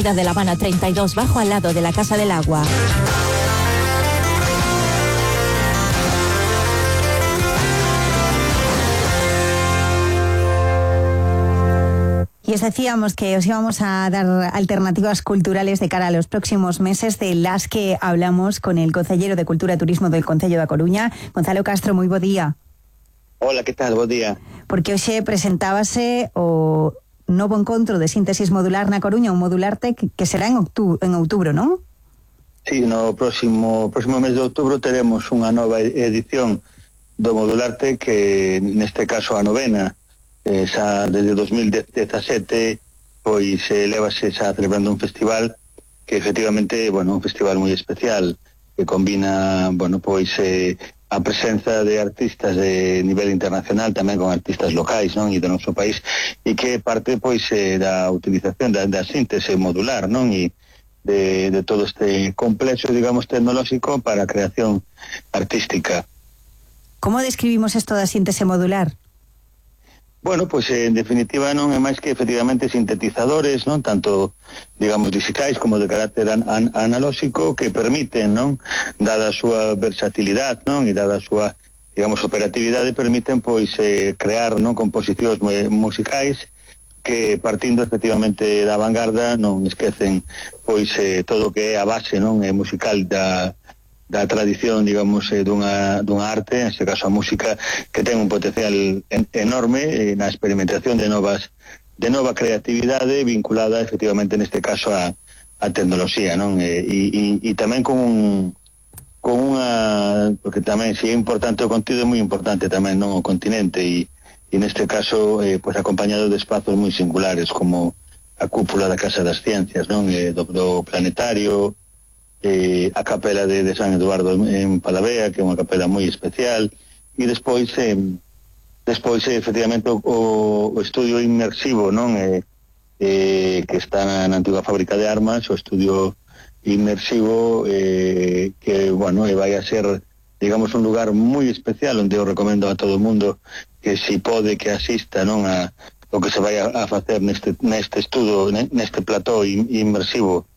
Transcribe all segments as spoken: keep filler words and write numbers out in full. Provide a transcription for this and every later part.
de La Habana treinta y dos, bajo al lado de la Casa del Agua. Y os decíamos que os íbamos a dar alternativas culturales de cara a los próximos meses, de las que hablamos con el Concelleiro de Cultura e Turismo del Concello da Coruña, Gonzalo Castro. Moi bo día. Hola, que tal? Bo día. Porque hoxe presentábase o novo encontro de síntesis modular na Coruña, un Modularte que, que será en outubro, en outubro, non? Sí, no próximo próximo mes de outubro teremos unha nova edición do Modularte, que neste caso a novena, eh, xa desde dos mil dezasete, pois eh, levase xa celebrando un festival que efectivamente, bueno, un festival moi especial, que combina, bueno, pois eh, a presenza de artistas de nivel internacional, tamén con artistas locais, non, e do noso país, e que parte, pois, eh, da utilización da, da síntese modular, non, e de, de todo este complexo, digamos, tecnolóxico para a creación artística. Como describimos isto da síntese modular? Bueno, pois en definitiva non é máis que efectivamente sintetizadores, non, tanto, digamos, digitais como de carácter an an analóxico, que permiten, non, dada a súa versatilidade, non, e dada a súa, digamos, operatividade, permiten, pois, eh, crear, non, composicións musicais que, partindo efectivamente da vanguarda, non esquecen, pois, eh, todo o que é a base, non, eh, musical da da tradición, digamos, eh, dunha, dunha arte, en este caso a música, que ten un potencial en, enorme eh, na experimentación de novas de nova creatividade vinculada efectivamente neste caso a, a tecnoloxía, non? E, e, e tamén con un con unha, porque tamén si é importante o contido, é moi importante tamén, non, o continente, e, e neste caso eh, pues acompañado de espazos moi singulares como a cúpula da Casa das Ciencias, non? Eh, do, do planetario, Eh, a capela de, de San Eduardo en Palavea, que é unha capela moi especial, e despois eh, despois eh, efectivamente o, o estudio inmersivo, non, eh, eh, que está na, na antiga fábrica de armas, o estudio inmersivo eh, que, bueno, eh, vai a ser, digamos, un lugar moi especial onde eu recomendo a todo o mundo que si pode que asista, non, a o que se vai a, a facer neste, neste estudo, neste plató inmersivo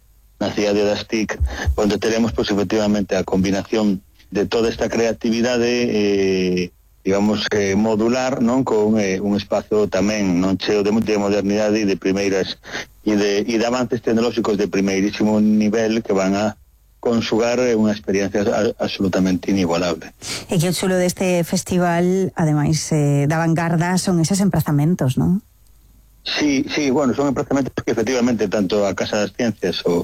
na cidade das T I C, onde teremos, pois, efectivamente, a combinación de toda esta creatividade, eh, digamos, eh, modular, non, con eh, un espazo tamén non cheo de, de modernidade e de primeiras e de, e de avances tecnolóxicos de primeirísimo nivel que van a consugar eh, unha experiencia a, absolutamente inigualable. E que o chulo deste festival, ademais, eh, da vanguarda, son eses emprazamentos, non? Sí, sí, bueno, son emprazamentos que efectivamente tanto a Casa das Ciencias o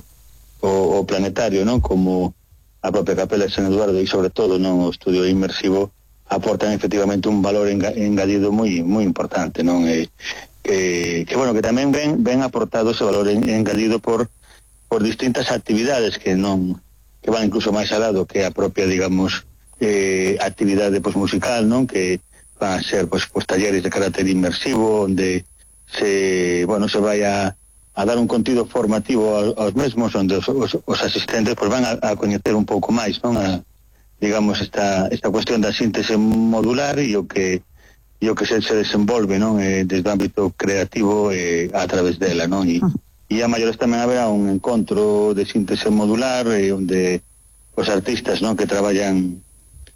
O, o planetario, non, como a propia capela de San Eduardo e sobre todo, non, o estudio inmersivo aportan efectivamente un valor enga, engadido moi moi importante, non, e, que, que bueno, que tamén ven ven aportado ese valor en, engadido por por distintas actividades que non que van incluso máis alá do que a propia, digamos, eh, actividade, pois, musical, non, que van a ser, pois, pois talleres de carácter inmersivo onde se, bueno, se vai a a dar un contido formativo aos mesmos, onde os, os, os asistentes pues, van a, a coñecer un pouco máis, non, a, digamos, esta esta cuestión da síntese modular e o que e o que se, se desenvolve, non, eh, desde o ámbito creativo eh, a través dela, non, e, e a maiores tamén haberá un encontro de síntese modular eh, onde os artistas, non, que traballan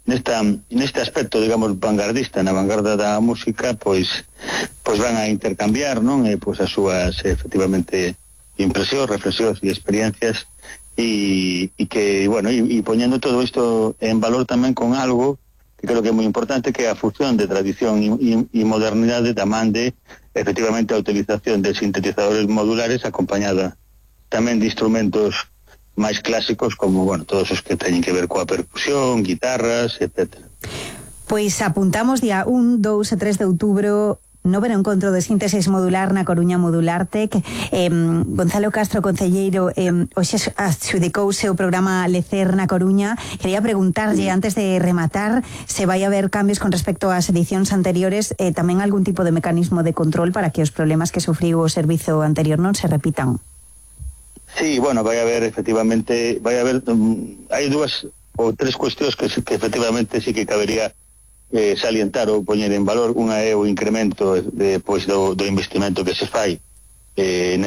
nesta neste aspecto, digamos, vanguardista, na vanguarda da música, pois pois van a intercambiar, non, eh, pois as súas efectivamente impresións, reflexións e experiencias, e, e que, bueno, e, e poñendo todo isto en valor tamén con algo que creo que é moi importante, que é a fusión de tradición e, e, e modernidade da man de efectivamente a utilización de sintetizadores modulares acompañada tamén de instrumentos máis clásicos como, bueno, todos os que teñen que ver coa percusión, guitarras, etcétera. Pois apuntamos día un, dous e tres de outubro noveno encontro de síntesis modular na Coruña Modulartec. Eh, Gonzalo Castro, concelleiro, eh, hoxe adxudicouse o programa Lecer na Coruña. Quería preguntarlle, antes de rematar, se vai haber cambios con respecto ás edicións anteriores, eh, tamén algún tipo de mecanismo de control para que os problemas que sufriu o servizo anterior non se repitan. Sí, bueno, vai haber efectivamente, vai haber, um, hai dúas ou tres cuestións que, que efectivamente sí que cabería eh, salientar ou poñer en valor. Unha é o incremento de, pois, do, do investimento que se fai eh,